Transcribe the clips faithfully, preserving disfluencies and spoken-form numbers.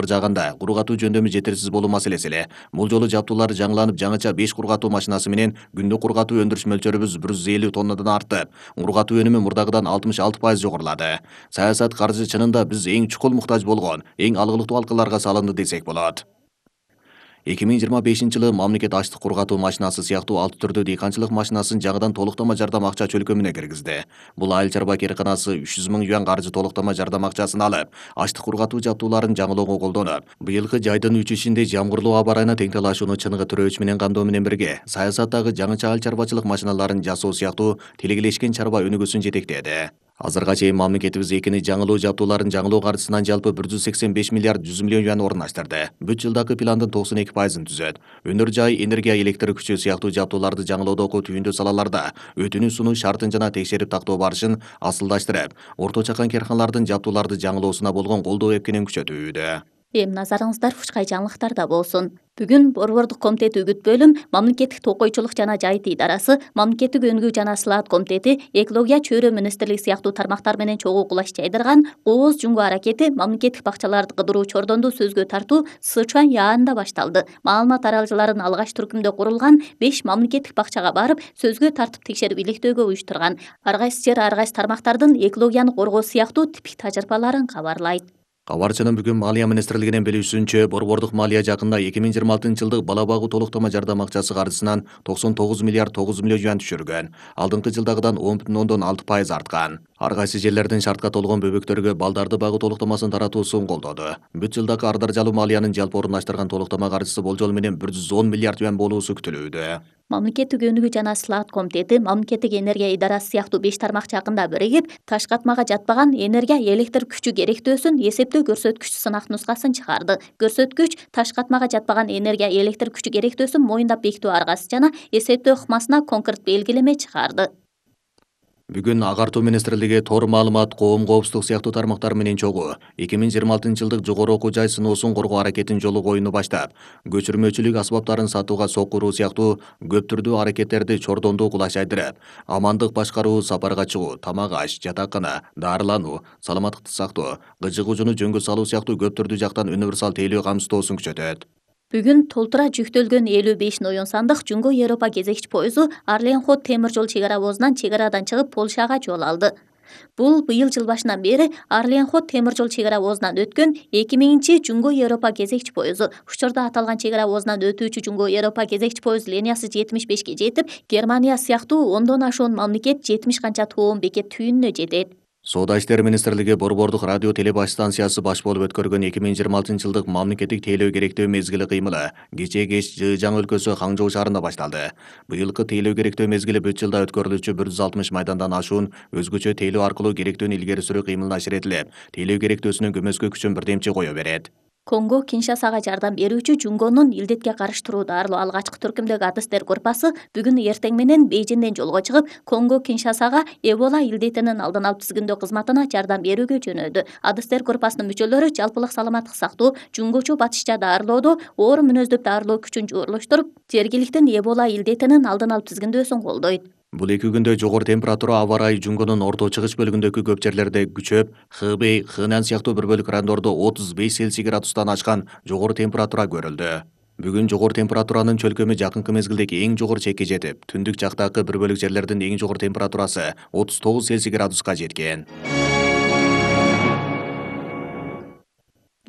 жаганда куру катуу жөндөмү жетерсиз болуу маселеси эле. Бул жолу жабдуулар жаңыланып, жаңыча беш куру катуу машинасы менен күндүк куру катуу өндүрүш мөлчөрүбүз бир жүз элүү тоннадан артып, куру катуу өнүмү мурдагыдан алтымыш алты пайыз жогорулады. Саясат каржы чынында биз эң чукул муктаж болгон, эң алгылыктуу алкаларга салынды десек болот. эки миң жыйырма бешинчи жылы мамлекет ачтык куру катуу машинасы сыяктуу алты түрдүү дыйканчылык машинасын жаңыдан толуктама жардам акча чөлкөмүнө киргизди. Бул айыл чарба кээрканасы үч жүз миң юан каржы толуктама жардам акчасын алып, ачтык куру катуу жабдууларын жаңылоого колдонуп, быйылкы жайдын үч ишинде жамгырлуу аба ырайына тең талашууну чыныгы төрөөч менен камдоо менен бирге, саясаттагы жаңыча айыл чарбачылык машиналарын жасоо сыяктуу тилегелешкен чарба өнүгүүсүн жетектеди. Азырга чейин мамлекетибиз экини жаңылоо жабдууларын жаңылоо каржысынан жалпы бир жүз сексен беш миллиард жүз миллион юан орундаштырды. Бүт жылдагы пландын токсон эки пайызын түзөт. Өнөр жай, энергия, электр күчү сыяктуу жабдууларды жаңылоодогу түйүндүү салаларда өтүнүү сунуу шартын жана текшерип тактоо барышын асылдаштырып, орто чакан керканалардын жабдууларды жаңылоосуна болгон колдоо эпкенин күчөтүүдө. Эми назарыңыздар Фучкай жаңылыктарда болсун. Бүгүн Борбордук комитет үгүт бөлүм, Мамлекеттик токойчулук жана жайыт идарасы, Мамлекеттик өнүгүү жана сылаат комитети, экология, чөйрө министрлиги сыяктуу тармактар менен чогуу кулаш жайдырган кооз жумгу аракети мамлекеттик бакчаларды кыдыруу чордонду сөзгө тартуу Сычуань яарында башталды. Маалымат аралжыларын алгач түркүмдө курулган беш мамлекеттик бакчага барып, сөзгө тартып текшерип иликтөөгө уюштурган. Ар кайсы жер ар кайсы тармактардын экологияны коргоо сыяктуу типик тажрыйбаларын кабарлайт. Кабарчынын бүгүн Малия министрлигинен билүүсүнчө, Борбордук малия жакында эки миң жыйырма алтынчы жылдык бала багуу толуктама жардам акчасы каржысынан токсон тогуз миллиард тогуз жүз миллион юан түшүргөн. Алдыңкы жылдагыдан он бүтүн ондон алты пайыз арткан. Ар кайсы жерлердин шартка толгон бөбөктөргө балдарды багуу толуктамасын таратуусун колдоду. Бүт жылдагы ардар жалуу малиянын жалпы орундаштырган толуктама каржысы болжол менен бир жүз он миллиард юан болуусу күтүлүүдө. Мамлекеттик өнүгүү жана сылаат комитети, Мамлекеттик энергия идарасы сыяктуу беш тармак жакында биригип, таш катмага жатпаган энергия электр күчү керектөөсүн эсептөө көрсөткүч сынак нускасын чыгарды. Көрсөткүч таш катмага жатпаган энергия электр күчү керектөөсүн моюндап бекитүү аргасы жана эсептөө ыкмасына конкрет белгилеме чыгарды. Бүгүн Агартуу министрлиги тор маалымат, коом коопсуздук сыяктуу тармактар менен чогуу эки миң жыйырма алтынчы жылдык жогору окуу жай сыноосун коргоо аракетин жолу коюуну баштап, көчүрмөчүлүк асбаптарын сатууга сокуруу сыяктуу көп түрдүү аракеттерди чордондуу кулаш жайдырып, амандык башкаруу, сапарга чыгуу, тамак аш, жатакана, дарылануу, саламаттыкты сактоо, кыжык ужуну жөнгө салуу сыяктуу көп түрдүү жактан универсал тейлөө камсыздоосун күчөтөт. Бүгүн толтура жүктөлгөн элүү беш ноюн сандык Жумго Европа кезекчи поезу Арленхот темир жол чек ара обозунан чек арадан чыгып Польшага жол алды. Бул быйыл жыл башынан бери Арленхот темир жол чек ара обозунан өткөн эки миңинчи Жумго Европа кезекчи поезу. Учурда аталган чек ара обозунан өтүүчү Жумго Европа кезекчи поезд линиясы жетимиш бешке жетип, Германия сыяктуу ондон ашуун мамлекет жетимиш канча тоон бекет түйүнүнө жетет. Соода иштери министрлиги Борбордук радио телебаш станциясы баш болуп өткөргөн эки миң жыйырма алтынчы жылдык мамлекеттик тейлөө керектөө мезгили кыймылы кечээ кеч Жыжаң өлкөсү Хаңжоо шаарында башталды. Быйылкы тейлөө керектөө мезгили бүт жылда өткөрүлүүчү бир жүз алтымыш майдандан ашуун өзгөчө тейлөө аркылуу керектөөнү илгери сүрүү кыймылына ширетилип, тейлөө керектөөсүнүн көмөскө күчүн бирдемчи кое берет. Конго Киншасага жардам берүүчү Жунгонун илдетке карыштыруу дарылоо алгачкы түркүмдөгү адыстер группасы бүгүн эртең менен Бейжиңден жолго чыгып, Конго Киншасага Эбола илдетинин алдын алып тизгиндөө кызматына жардам берүүгө жөнөдү. Адыстер группасынын мүчөлөрү жалпылык саламаттык сактоо, жуңгучу батышча дарылоодо оор мүнөздөп дарылоо күчүн жуурлуштуруп, жергиликтин Эбола илдетинин алдын алып тизгиндөөсүн колдойт. Бул эки күндө жогору температура аба ырайы Жунгонун орто чыгыш бөлүгүндөгү көп жерлерде күчөп, Хэбэй, Хэнань сыяктуу бир бөлүк райондордо отуз беш Цельсий градустан ашкан жогору температура көрүлдү. Бүгүн жогору температуранын чөлкөмү жакынкы мезгилдеги эң жогору чекке жетип, түндүк жактагы бир бөлүк жерлердин эң жогору температурасы отуз тогуз Цельсий градуска жеткен.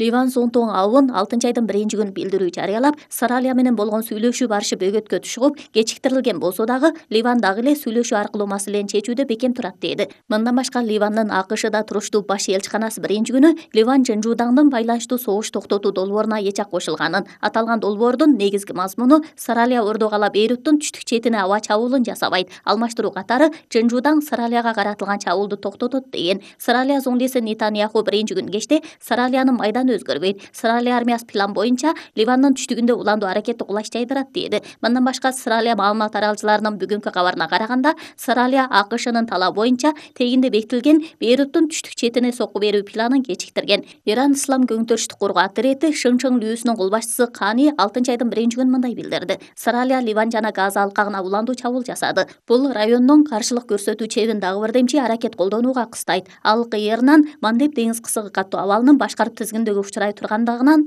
Ливан зонтуң абын алтынчы айдын биринчи күнү билдирүү жарыялап, Саралия менен болгон сүйлөшүү барышы бөгөткө түшүп, кечиктирилген болсо дагы Ливан дагы эле сүйлөшүү аркылуу маселени чечүүдө бекем турат деди. Мындан башка Ливандын АКШда туруштуу баш элчиканасы биринчи күнү Ливан Жынжуудаңдын байланыштуу согуш токтотуу долбооруна эч-ак кошулганын, аталган долбоордун негизги мазмуну Саралия Ордогала Бейруттун түштүк четине аба чабуулун жасабайт, алмаштыруу катары Жынжуудаң Саралияга каратылган чабуулду токтотот деген. Саралия зоңдеси Нетаньяху биринчи күнү кечте Саралиянын майдан өзгөрбөйт. Саралия армиясы план боюнча Ливандын түштүгүндө уландуу аракетти кулаш жайдырат деди. Мындан башка Саралия маалымат аралжыларынын бүгүнкү кабарына караганда, Саралия АКШнын талабы боюнча тегинде бекитилген Бейруттун түштүк четине сокку берүү планын кечиктирген. Иран Ислам көңтөрүштүк коргоо отряды Шыңчың лүүсүнүн кол башчысы Кани алтынчы айдын биринчи күнү мындай билдирди. Саралия Ливан жана Газа алкагына уландуу чабуул жасады. Бул райондун каршылык көрсөтүү чебин дагы бирдемчи аракет колдонууга кыстайт. Ал кыйырынан Мандеб деңиз кысыгы каттуу абалынын башкарып тизгиндөгү учурай тургандыгынан